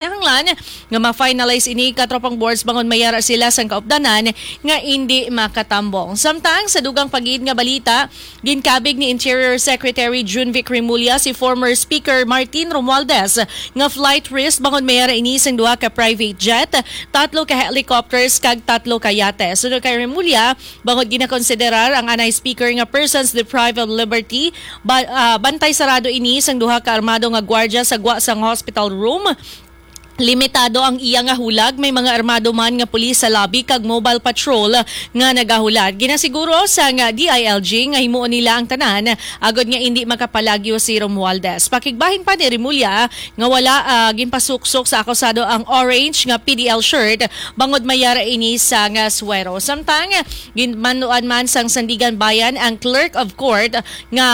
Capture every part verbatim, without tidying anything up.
Kinahanglan nga ma-finalize ini, katropang boards, bangod mayara sila sang kaupdanan nga indi makatambong. Samtang sa dugang pagid nga balita, ginkabig ni Interior Secretary Junvic Remulla si former Speaker Martin Romualdez nga flight risk bangod mayara ini sang duha ka private jet, tatlo ka helicopters kag tatlo ka yate. Suno kay Remulla, bangod ginakonsiderar ang anay speaker nga persons deprived of liberty, ba, ah, bantay sarado ini sang duha ka armado nga gwardya sa gwa sang hospital room. Limitado ang iya nga hulag, may mga armado man nga pulis sa lobby kag mobile patrol nga nagahulat. Ginasiguro sang D I L G nga himuon nila ang tanan agod nga indi makapalagyo si Romualdez. Pakigbahin pa ni Remulla nga wala, ah, ginpasuksok sa akusado ang orange nga P D L shirt bangod mayara ini sang suwero. Samtang ginmanuan man sang Sandiganbayan ang clerk of court nga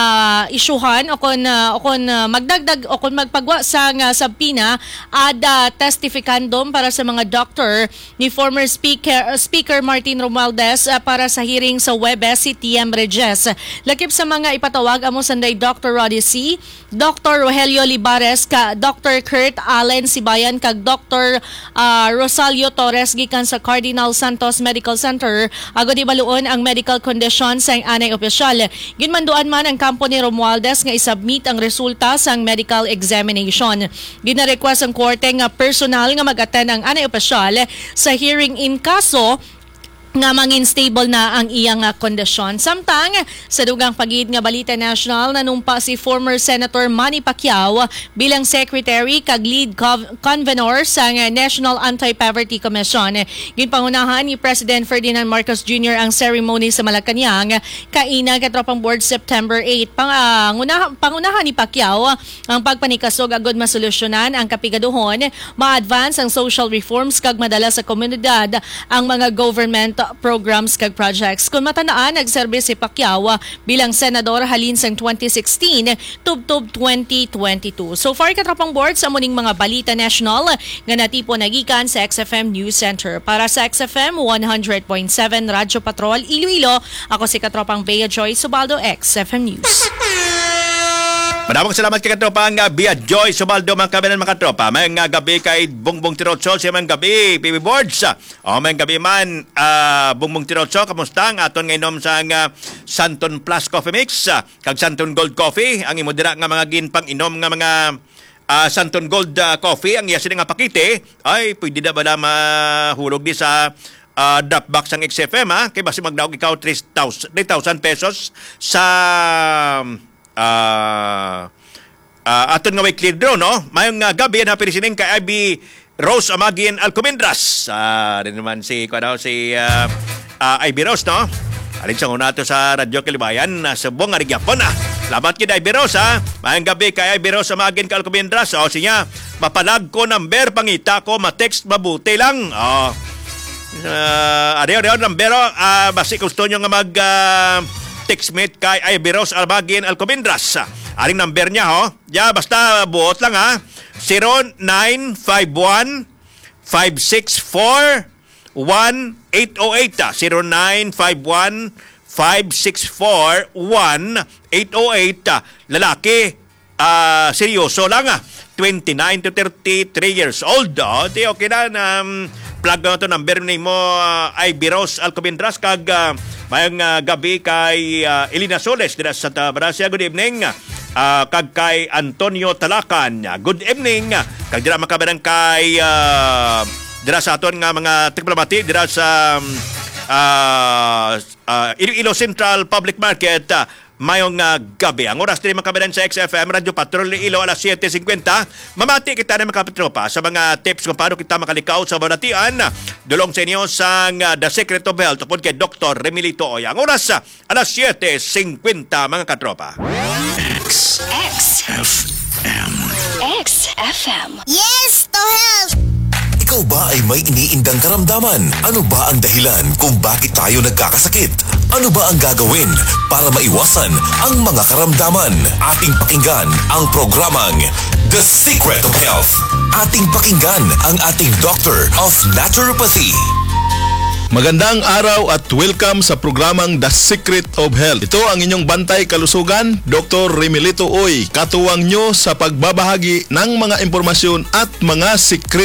isyuhan o kon, ah, o kon, ah, magdagdag o kon magpagwa sang subpoena ad testificandum para sa mga doktor ni former Speaker, Speaker Martin Romualdez, ah, para sa hearing sa Huwebes si T M Regis. Lakip sa mga ipatawag amo sanday Doctor Roddy C, Doctor Rogelio Libares, ka Doctor Kurt Allen Sibayan, kag Doctor, ah, Rosalio Torres gikan sa Cardinal Santos Medical Center, agod ibaluon ang medical condition sang anay opisyal. Ginmanduan man ang kampo ni Romualdez nga isubmit ang resulta sang medical examination. Ginarequest ang korte nga personal nga mag-attend ang anay opisyal sa hearing in kaso nga mangin stable na ang iyang, ah, kondisyon. Samtang sa dugang pagid nga balita nasyonal, nanumpa si former Senator Manny Pacquiao bilang secretary kag lead cov-, convenor sa National Anti-Poverty Commission. Ginpangunahan ni President Ferdinand Marcos Junior ang ceremony sa Malacañang kaina, katropang board, September eight. Pang-, ah, ngunaha-, pangunahan ni Pacquiao ang pagpanikasog agud masolusyonan ang kapigaduhon, ma-advance ang social reforms kag madala sa komunidad ang mga government programs kag projects. Kung matan-an, nagserbi si Pacquiao bilang senador halin sang twenty sixteen tubtob twenty twenty-two. So far, katropang board, sa muning mga balita national nga natipon nagikan sa X F M News Center. Para sa X F M one hundred point seven Radyo Patrol Iloilo, ako si katropang Bea Joy Subaldo, X F M News. Madamong salamat kay katropang, ah, Bea Joy Subaldo, mga kabayan, mga katropa. May nga gabi kay Bongbong Tirotso, siya may gabi, P B Boards. O, may gabi man, ah, Bongbong Tirotso, kamusta ang aton nga inom sa nga Santon Plus Coffee Mix, ah, kag Santon Gold Coffee, ang imo dira nga mga ginpang-inom nga mga, ah, Santon Gold, ah, Coffee, ang iya sini nga pakete, ay, pwede na bala mahulog di sa, ah, drop box ang X F M, ha? Kay basi magdaog ikaw three thousand, three thousand pesos sa, ah, ah, aton nga may clear draw, no? Mayong, ah, gabi na pili sining kay Ivy Rose Amagin Alcomendras. Ah, rin naman si, kuwan, si, ah, ah, Ivy Rose, no? Alin sa una to sa Radyo Kalibayan, ah, subong nga rin gyapon, ah. Salamat kay Ivy Rose, ha? Mayang gabi kay Ivy Rose Amagin ka Alcomendras. O, siya, mapalag ko number, pangita ko, ma-text mabuti lang. O. Ah, ariyo, ariyo, number, o. Ah, basi gusto nyo nga mag, ah, text mate kay Ivy Rose Amagin Alcomendras. Aring number niya, ho. Ya, basta buot lang, ha. Zero nine five one, five six four, one eight oh eight, ah. Zero nine five one, five six four, one eight oh eight, ah. Lalaki, ah, seryoso lang, ah. Twenty-nine to thirty-three years old. Oh, di okay na, um, plug na to number nimo, ah, Ivy Rose Alcomendras, kag, ah, mayang, ah, gabi kay, ah, Elena Soles dira sa Santa Gracia. Good evening. Ah, kag kay Antonio Talacan, ah, good evening. Kag dira makabarang kay, ah, dira sa aton nga mga tigpalamati dira sa, um, ah, ah, Iloilo Central Public Market, ah, mayong, ah, gabi. Ang oras diri makabarang sa X F M Radyo Patrol Iloilo, alas siyete cincuenta. Mamati kita na, mga katropa, sa mga tips kung paano kita makalikaw sa balatian. Dulong sa inyo sang, ah, The Secret of Health upod kay Doktor Remilito Oy. Ang oras, ah, alas siyete cincuenta, mga katropa. X X F M. X F M. Yes to health! Ikaw ba ay may iniindang karamdaman? Ano ba ang dahilan kung bakit tayo nagkakasakit? Ano ba ang gagawin para maiwasan ang mga karamdaman? Ating pakinggan ang programang The Secret of Health. Ating pakinggan ang ating Doctor of Naturopathy. Magandang araw at welcome sa programang The Secret of Health. Ito ang inyong bantay kalusugan, Doktor Remilito Uy, katuwang nyo sa pagbabahagi ng mga impormasyon at mga sikreto